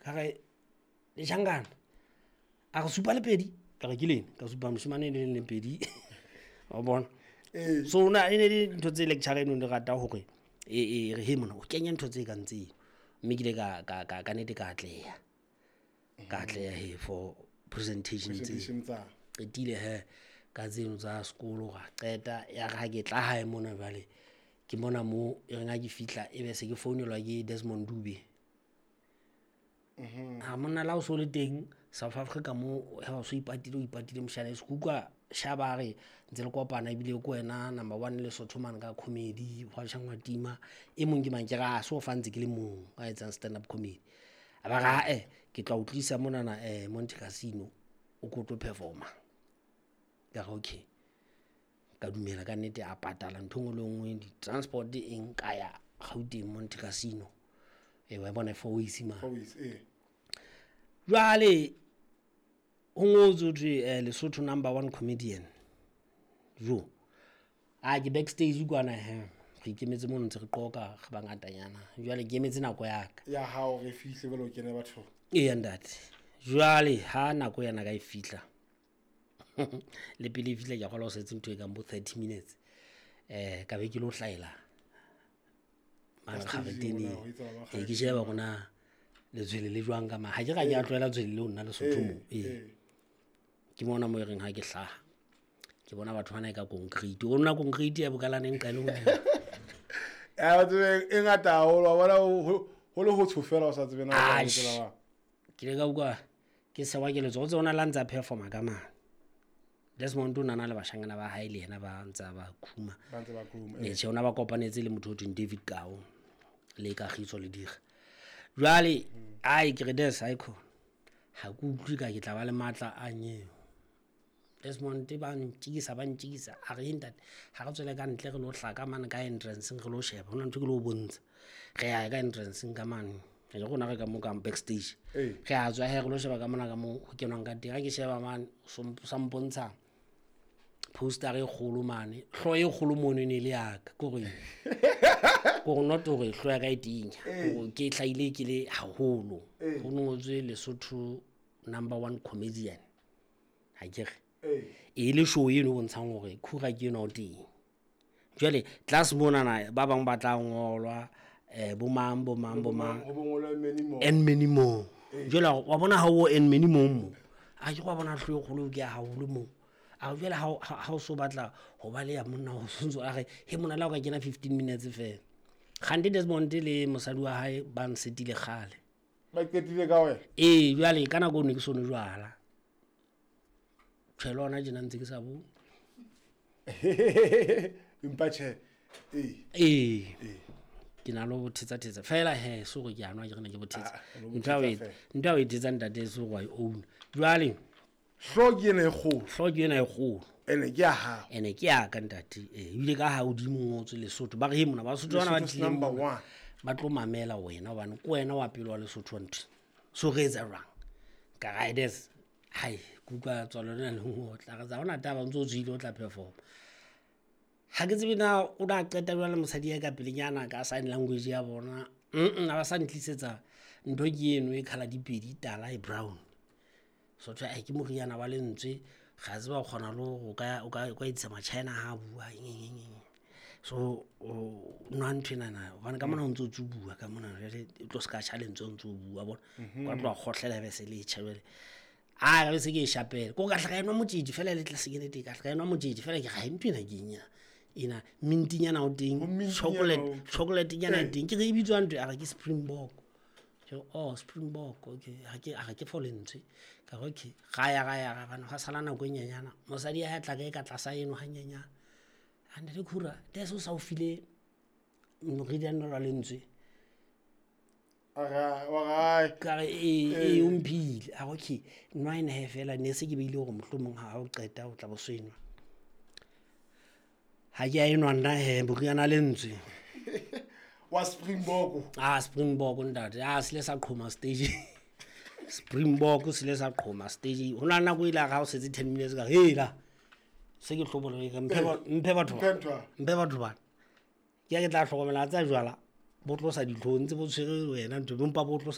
Ka re letjhankana, a re supa le pedi, ka re ke lena, ka supa moshemane le leng le pedi. Wa bona? So na e ne le ntho tse lecture eno ne rata hore e re he mona o kenye ntho tse kang tseno. Mme ke ile ka nete ka atleha. Ka atleha he for presentation tse. Presentation tsa. Qetile he ka tseno tsa sekolo ra qeta, ya re ha ke tla hae mona jwale ke mona mo e reng ha ke fihla e be se ke founelwa ke Desmond Dube. Ha monna la o so le teng South Africa mo ha o so ipatile, o ipatile moshana se kuka shaba re ntse le kopana ebile ke wena number 1 Lesotho man ka comedy hwa tjhangwa tima e mong ke mang ke ra so fa ntse ke le mong a etsang stand up comedy. A ba ra ke tla o tlisa monana Monte Casino o ko tlo performa. Ka re okay. Ka dumela ka nnete a patala ntho nngwe le nngwe, di-transport eng ka ya Gauteng Monte Casino. Wa bona Four Ways ma. Four Ways, eh. Jwale ho ngotswe ho thwe Lesotho number 1 comedian. Jo. A ke backstage kwana he. Re ikemetse mono ntse re qoka re bangatanyana. Jwale ke emetse nako ya ka. Ya hao re fihle jwale o kene batho. Ee ntate. Jwale ha nako yana ka e fihla. Le pele e fihla ke a kgolwa ho setse ntho e kang bo 30 minutes. Ka be ke lo hlaela mane kgareteneng. Ke sheba hore na letshwele le jwang ka ma. Ha ke ra ke a tlwaela tshwele leo nna Lesotho mo. Ke mona mo e reng ha ke hlaha. Ke bona batho bana e ka concrete. O nna concrete ya bokalane nqa le hodimo. Ya tsebe e ngata haholo, wa bona ho le ho tshofela o sa tsebe na o tsela wa. Ke le ka utlwa ke sewa ke letso, o tsona la ntsa performa ka mane. Desmond o nana le bashanyana ba hae le yena ba ntsa ba khuma. Ba ntse ba khuma. Tjhe, ona ba kopanetse le motho o thweng David Kao le Kagiso le Dira. Jwale ai ke re Des ha ikhona. Ha ke utlwe ka ke tla ba le matla a nyeo. Desmond ba ntjikisa ba ntjikisa a re ntate ha re tswele ka ntle re lo hlaka mane ka entrance re lo sheba hona ntho ke lo bontsha. Re ya ka entrance ka mane. Re rona re ka mo ka backstage. Re a tswa he re lo sheba ka mona ka mo ho kenwang ka teng. Ha ke sheba mane sa mpontsha poster e kgolo mane. Hlo e kgolo mono ne le ya ka ke hore ke hore not hore hlo ya ka e tinya. Hore ke hlahile ke le haholo. Ho ngotswe Lesotho number 1 comedian. Ha ke re. E le show eno bontshang hore khura ke eno teng. Jwale class mona na ba bang ba tla ngolwa bo mang bo mang bo mang ho bongolwa many more and many more. Jwale wa bona ha o and many more mo. A ke wa bona hlo e kgolo ke ya haholo mo. A jwale ha o so batla ho ba le ya monna ho sontso a re he mona la o ka kena 15 minutes fela. Kgante Desmond le mosadi wa hae ba nsetile kgale. Ba qetile ka wena? Ee, jwale ka nako ne ke sono jwala. Tjhe le hona tjena ntse ke sa bone. Empa tjhe. Ee. Ke na le ho thetsa thetsa fela he so re ke a nwa ke re ne ke bothetsa. Ntho ya o etsa ntate so wa e own. Jwale hlo ke ena e kgolo. Hlo ke ena e kgolo. Ene ke ya hao. Ene ke ya ka ntate. Ebile ka ha hodimo ngotswe Lesotho. Ba re he mona Basotho bana ba tlile number 1. Ba tlo mamela wena hobane ke wena wa pele wa Lesotho wa ntho. So re etsa jwang? Ka riders. Hai, kuka tswalo lena le ngotla. Re tsa hona taba ntso tswile o tla perform. Ha ke tsebe na o na qeta jwale mosadi ya ka pelenyana ka sign language ya bona. A ba sa ntlisetsa ntho ke eno e colour dipedi tala e brown. So tjhe ai ke moriana wa lentswe ga tseba o kgona le ho ka o ka etsa ma-China ha bua eng. So o nwa ntho ena na hobane ka mona o ntso tsubuwa ka mona jwale e tlo ska tjha lentswe o ntso bua bona. Ka tloha kgohlela be se le tjha jwale. A re se ke e shapela. Ko ka hla ka enwa motjetje fela le tlase ke nete ka hla ka enwa motjetje fela ke ga ntho ena ke eng ena. Ena mintinyana o teng, chocolate nyana teng. Ke re e bitswa ntho a re ke Springbok. Ke oh Springbok okay ha ke a re ke for lentswe. Ka re okay ga ya bana ga sala nako e nyenyana. Mosadi ya tla ka e ka tlasa eno ha nyenyana. A ntate Khura des o sa o file moriana wa lentswe. Ka re e o mphile. A re okay nwa ena he fela ne se ke beile hore mohlomong ha o qeta o tla bo senwa. Ha ke a enwa nna he moriana lentswe. Wa Springbok. Ah Springbok ntate. Ah se le sa qhoma stage. Springbok se le sa qhoma stage. Hona nako ile ha o setse 10 minutes ka hela. Se ke hlobola ke mphe batho. Mphe batho ba. Ke ya ke tla hlokomela tsa jwala. Bo tlosa ditlhong tse bo tshwere wena ntho bompa bo tlosa